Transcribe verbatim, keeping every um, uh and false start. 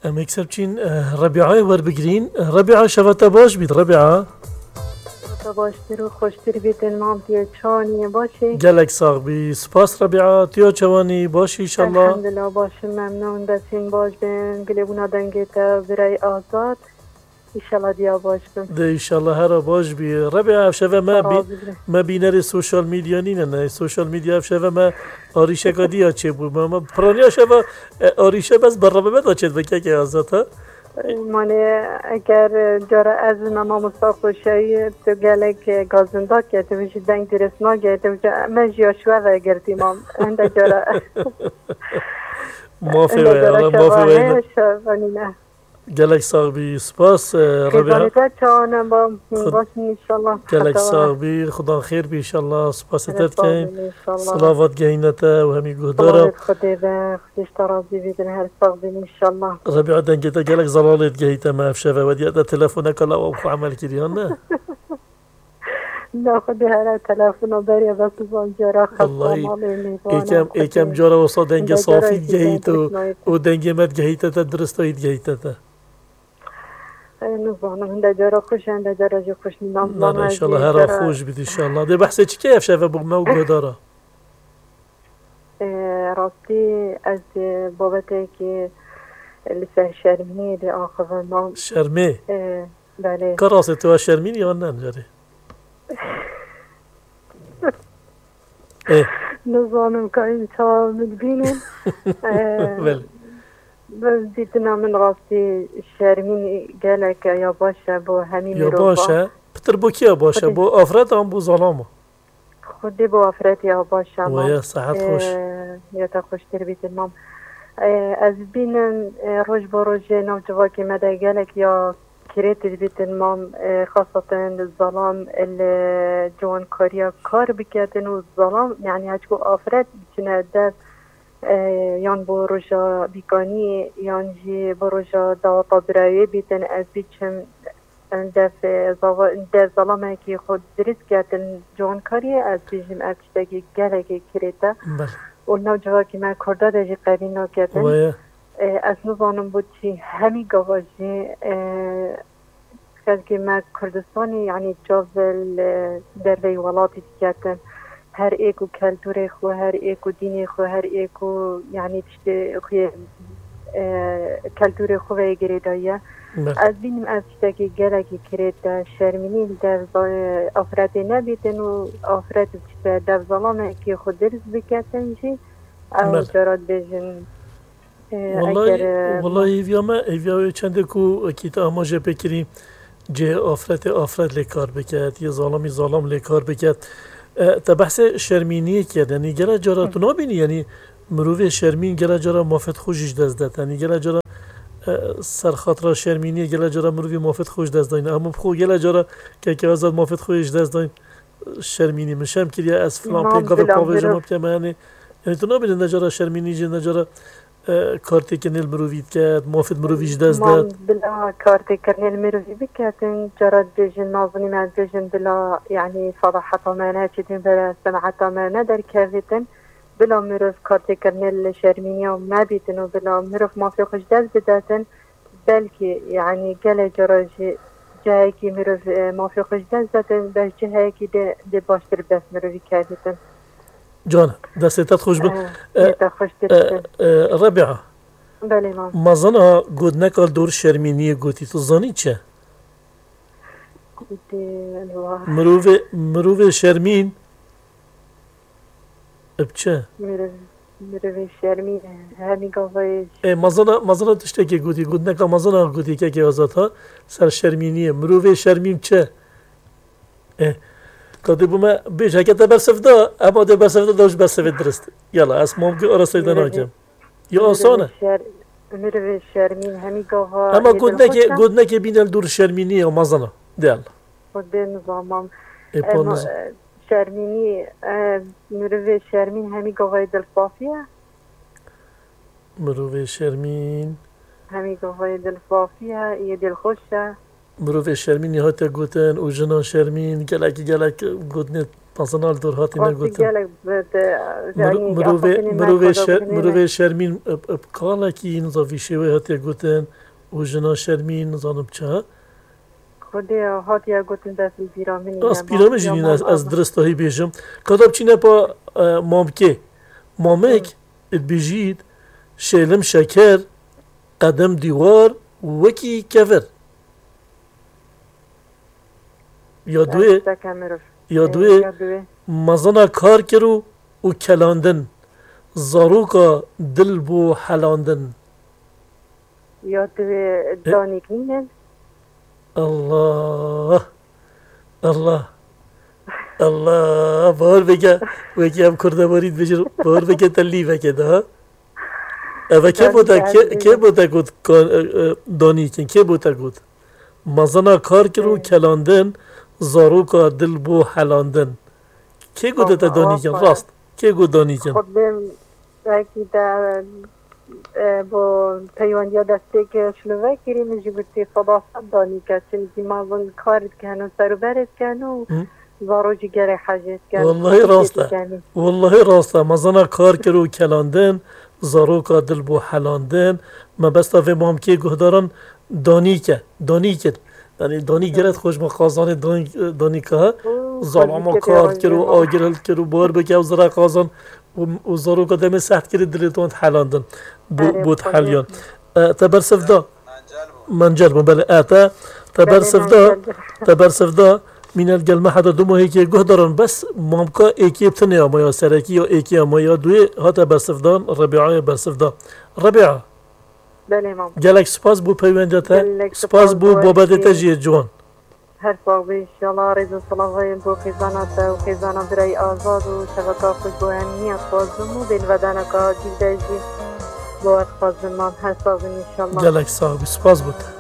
Em êkser çîn, eh, Rebîayê werbigirîn. Rebîa, şeva te baş bît, Rebîa. Te baştir û xweştir bîtin, mam, tu çawa nî, baş î? Gelek sax bî. Spas, Rebîa. Tu ya çawa nî, baş î, înşallah? Elhamdulillah, baş im, memnûn, destên baş bin. Gilê bûna dengê te, birayê Azad. Înşallah diya baş bin. De înşallah hera baş bî. Rebîa, ev şeve me bî-, Razî bin. Me bînerê sosyal medya nîne, ne? Sosyal medya ev şeve me arîşeka diya çêbû. Me, me piraniya şeva, e, arîşe bes bernameya me de çêdibe kekê Azad, ha? Mane, eger, e, cara ez me mamosta Xoşayî, tu gelek, e, gazindak e, tu ji deng dirêst nagê, tu ji me jî ya şwe vegirtî, mam. Hinde cara. Mafê we, cara Allah mafê we. Şeva nîne. Gelek sax bî, spas, e, Rebîa. Xêzanê te çawa ne, ba-, Xud-, baş in înşallah. Gelek sax bî, Xudan xêr bî înşallah, spasê te dikeyn. Gelek sax bî înşallah. Silavat gehîne te û hemî guhdara. Silavêt Xwedê be, Xwedê ji te razî bî, din her sax bîn înşallah. Rebîa, dengê te gelek zelalê digehîte me ev şeve, wediya te telefoneka lawa bi xwe emel kiriyan, ne? Na, Xwedê here telefona beriya bes van cara xesta malê mêvana. Êkem, êkem cara wisa dengê safî digehîte û, û dengê me digehîte te, diristayî digehîte te. E, nizanim, hinde cara xweş e, hinde cara jî xweş nîne. Nana, înşallah, hera xweş bît, înşallah. Dê behsê çi ke ev şeve bo me û guhdara? E, rastî ez, e, babetekê li ser şermînê dê axivim. Şermê? E, belê. Ka rastê tu ya şermînî yan ne carê? Ê. Nizanim ka hûn çawa min dibînin. Ee, Belê. Bi dîtina min rastî şermîn gelek ya baş e bo hemî mirova. Ya baş e. Pitir bo kî ya baş e? Xwedê. Bo afret an bo zalama? Xwedê bo afret ya baş e, mam. Waya, sehet xweş. Ee, ya te xweştir bîtin, mam. Ee, ez bînim, ee, roj bo rojê nav civakê me de gelek ya kirêt dibîtin, mam, e, xaseten zalam li ciwankariya kar biketin û zalam, yanî hêçku afret biçine dev, e, yan bo roja bîkaniyê, yan jî bo roja daweta birayê bîtin, ez biçim, e, dev, e, zava-, dev zalamekî xwe dirist ketin ciwankariyê, ez bêjim ev tiştekî gelekî kirêt e. Belê. Û li nav civakî me Kurda de jî qebîl naketin. Waya. E, ez nizanim bo çi hemî gava jî, e, xelkê me Kurdistanê, yanî çav li derveyî welatî diketin. Her êk û keltûrê xwe, her êk û dînê xwe, her êk û, yanî tiştê xwe, e, keltûrê xwe veyê girêdaye. Belê. Ez bînim ev tiştekî gelekî kirêt e, şermînî li dev za-, afretê nebîtin û afret biçite dev zalamekî xwe dirist biketin jî. Ew Belê. Cara dibêjin, e, Wellahî, eger, e, wellahî hêviya me, hêviya wê çendê ku wekî te amaje pê kirî, cihê afretê afret lê kar biket, yê zalamî zalam lê kar biket. E, te behsê şermîniyê kir, yanî gele cara tu nabînî, yanî mirovê şermîn gele cara mafêt xwe jî ji dest det. Yanî gele cara, e, serxatira şermîniyê gele cara mirovî mafêt xwe ji dest dayne. Hema bi xwe gele cara keke Azad mafêt xwe ji dest dayne. Şermînî min şerm kiriye, ez filan Mam pêngavê bila pavêjê mirov. Ma bikeme, yanî, yanî tu nabînî ne cara şermînî jî, ne cara, e, kartêkirinê li mirovî diket, mafê mirovî ji dest Mam det. Bila kartêkirinê li mirovî biketin, cara dibêjin, nazinî me dibêjin bila, yanî, felaheta me neçîtin, bila semaheta me nederkevîtin, bila mirov kartêkirinê li şermîniya me bîtin û bila mirov mafê xwe ji dest bidetin, Belkî, yanî gelek cara jî cihekî mirov, e, mafê xwe ji dest didin, bes cihekî dê, dê baştir bi dest mirovî kevîtin. Can, destê te xweş bin. E, E, dê te xweştir e, bin. E, Rebîa. Belê, mam. Mazana gotineka li dor şermîniyê gotî, tu zanî çi? Gotî, Allah. Mirovê, mirovê şermîn, Bi çi? Mirov, mirovê şermîn e. Hemî gavayê Ê, mezina, mezina tiştekê gotî, gotineka mezina gotî kekê Azad ha, ser şermîniyê. Mirovê şermîn çi? Ê, ka dê bo me bêj, heke te bersiv da, ema dê bersiv da, da ji bersivê dirist. Yala, ez mamkî arastayî de Mirovê, nakim. Ya mirovê asan e. Şer-, mirovê şermîn hemî gava Ema yê gotinekê, dilxweş e. Gotinekê bîne li dor şermîniyê ya mezina. Dêl. Xwedê nizamam. Ê, pa Ema, niz- e, şermînî, e, mirovê şermîn hemî gavayê dilsafî ye. Mirovê şermîn. Hemî gavayê dilsafî ye, yê dilxweş e. Mirovê şermînî hate gotin û jina şermîn gelekî gelek gotinê Mezina li dor hatî Rastî negotin. Gelek bi, de, Miro-, yanî, mirovê, afatînê mirovê me şer-, xwedê mirovê şermîn, ep, ep, kalekî niza vî şêwê hatiye gotin û jina şermîn nizanim çi. Xwedê hatiye gotin dest li bîra min. Rast bîra min jî nîne, ez, ez dirist ahî bêjim. Ka da biçîne pa, e, mamkê. Mamek, dibêjît, şêlim şeker, qedem dîwar, wekî kevir. Ya duê, Tişteke mirov. Ya Ee, duê, ya duê. Mezina kar kir û, û kelandin. Zaroka dil bû helandin. Ya duê E? danîk nînin. Allah. Allah. Allah. Bahar beke, wekî em kurdewarî dibêjin, bahar beke te lîveke de, ha? Eve kê bo te, kê, kê bo te got kan-, e, e, danîkin, kê bo te got? Mezina kar kir û kelandin, zaroka dil bû helandin. Kê got te danîkin, rast? Kê got danîkin? Xwedê wekî te, e, bo peywendiya destpêk şilove kirî, min jî gotî seba sed danîke, çimkî mezin kar dikin û serûberê dikin û Hı. Zarok jî gerê hecê dikin. Wallahî rast e. Wallahî rast e. Mezina kar kir û kelandin, zaroka dil bû helandin. Mebesta vê mamkê guhdaran danîk e. Danîk e. Yanî danîk geret xweş me qazanê danîk, danîka he. Zalama kar kir û agir hilkir û bar bike û zira qazan û, û zaroka demê seht kirî dilê wan helandin. Bû, bû heliyan. E, te bersiv da. Mencel bû, belê. E, te, te bersiv da, te bersiv da, mînel gel me heta du mohê kê guhdaran bes mamka êkê tinê ama ya serekî ya êkê ama ya duyê hate bersivdan, Rebi'ayê bersiv da. Rebi'a. Belê mam. Gelek spas bû peywendiya te. Gelek spas bû babetê te jî yê ciwan. Her sax bî, inşallah rêz û silavayên bo xêzana te û xêzana birayî Azad û şeveka xwe bo em niya dixwazim û bênvedaneka acîl de jî bo we dixwazim mam. Her sax bin inşallah. Gelek sax bî, spas bo te.